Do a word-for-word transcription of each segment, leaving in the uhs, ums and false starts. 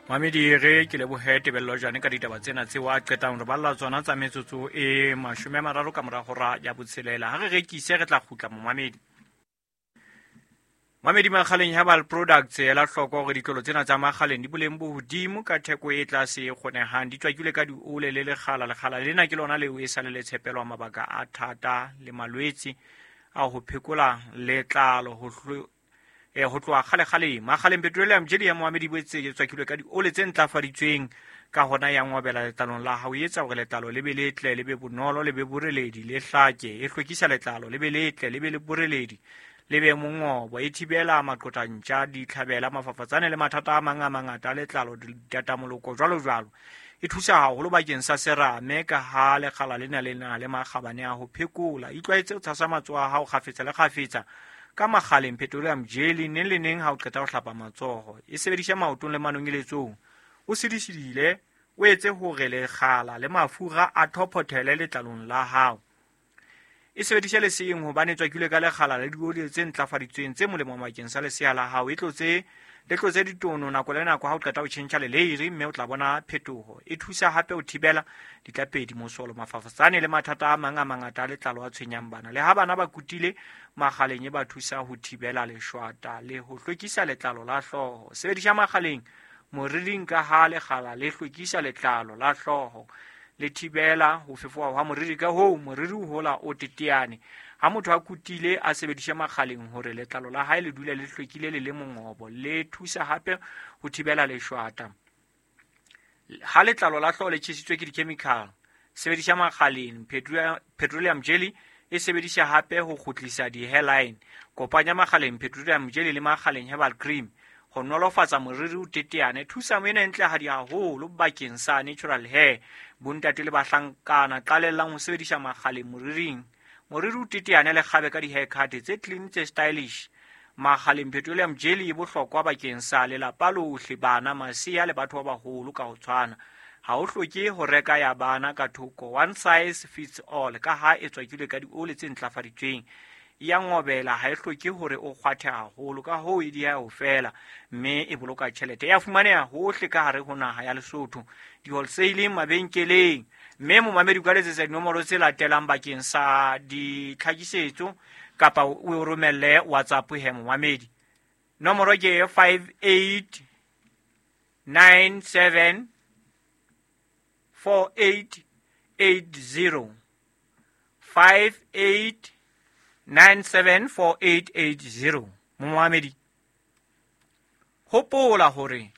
Mamedi re ke lebohe Tebello Jane ka ditaba tsena tseo a qetang re balla tsona tsa metsotso e mashome a mararo ka mora hora ya botshelela. Ha re rekise re tla kgutla momamedi. Mamedi Makgaleng Herbal Products ela hloko hore ditlolo tsena tsa Makgaleng di boleng bo hodimo ka theko e tlase e kgonehang, di tswakilwe ka diole le lekgala. Lekgala lena ke lona leo e sa le le tshepelwa mabaka a thata le malwetse a ho phekola letlalo ho e ho tloha kgale-kgaleng. Makgaleng Petroleum Jelly ya momamedi boetse e tswakilwe ka diole tse ntlafaditsweng, ka hona ya ngwabela letlalong la hao, e etsa hore letlalo le be letle, le be bonolo, le be boreledi, le hlake. E hlwekisa letlalo le be letle, le be le boreledi, le be mongobo. E thibela maqotantja, ditlhabela, mafafatsane le mathata a mang a mangata a letlalo, ditatamoloko jwalo jwalo. E thusa haholo bakeng sa serame ka ha lekgala lena le na le makgabane a ho phekola. Itlwaetse ho tshasa matsoho a hao kgafetsa le kgafetsa ka Makgaleng Petroleum Jelly neng le neng ha o qeta ho hlapa matsoho. E sebedisa maotong le manonyeletsong. O sidisidile, o etse hore lekgala le mafura a thophothele letlalong la hao. E sebedise leseeng hobane e tswakilwe ka lekgala le dioli tse ntlafaditsweng tse molemo bakeng sa lesea la hao. E tlotse le tlotse ditono nako le nako ha o qeta ho tjhentjha leleiri, mme o tla bona phetoho. E thusa hape ho thibela ditlapedi, mosolo, mafafatsane le mathata a mang a mangata a letlalo a tshwenyang bana. Le ha bana ba kutile, Makgaleng e ba thusa ho thibela leshwata le ho hlwekisa letlalo la hlooho. Sebedisa Makgaleng moriring ka ha lekgala le hlwekisa letlalo la hlooho, le thibela ho fefoha hwa moriri, ka hoo moriri o hola o teteane. Ha motho a kutile a sebedise Makgaleng hore letlalo la hae le dule le hlwekile le le mongobo. Le thusa hape ho thibela leshwata. Ha letlalo la hlooho le tjhesitswe ke di-chemical, sebedisa Makgaleng Petroleum Jelly. E sebedisa hape ho kgutlisa di-hairline. Kopanya Makgaleng Petroleum Jelly le Makgaleng Herbal Cream ho nolofatsa moriri o teteane. Thusa ena e ntlehadi haholo bakeng sa natural hair. Bontate le bahlankana qalellang ho sebedisa Makgaleng moriring. Moriri o teteane le kgabe ka di-haircut tse clean, tse stylish. Makgaleng Petroleum Jelly e bohlokwa bakeng sa lelapa lohle, bana, masea le batho ba baholo ka ho tshwana. Ha o hloke ho reka ya bana ka thoko, one size fits all, ka ha e tswakilwe ka dioli tse ntlafaditsweng. Ya ngobela, ha e hloke hore o kgwathe haholo, ka hoo e dieha ho fela, mme e boloka tjhelete. Ya fumaneha hohle ka hare ho naha ya Lesotho, di-wholesaleng, mabenkeleng. Mme momamedi o ka letsetsa dinomoro tse latelang bakeng sa ditlhakisetso kapa o romelle WhatsApp he momamedi. Nomoro ke five eight nine seven four eight eight zero, five eight nine seven four eight eight zero. Momamedi, hopola hore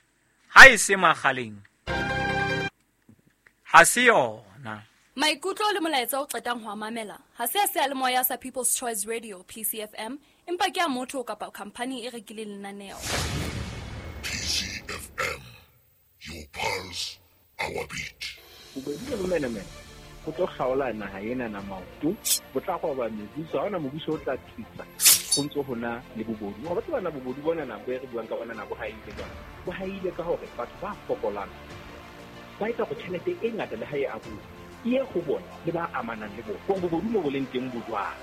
ha e se Makgaleng ha se yona. Maikutlo le molaetsa o qetang ho mamela ha se a seyalemoya sa People's Choice Radio P C F M, empa ke a motho kapa khampani e rekileng lenaneo. P C F M, your pulse, our beat. Bobedi le bomenemene go tlo kgaola naha ena na maoto, bo tla goba mebuso, ha hona mobuso o tla thusa go ntse ho na le bobodu. Wa batho bana bobodu bona nako e re buang ka bona nako ha ile jwang, bo ha ile ka hore batho ba fokolang ba etsa go tjhelete e ngata le ha e abuwa e ye go bona le ba amanang le bona. Gore bobodu mo bo leng teng bo jwang.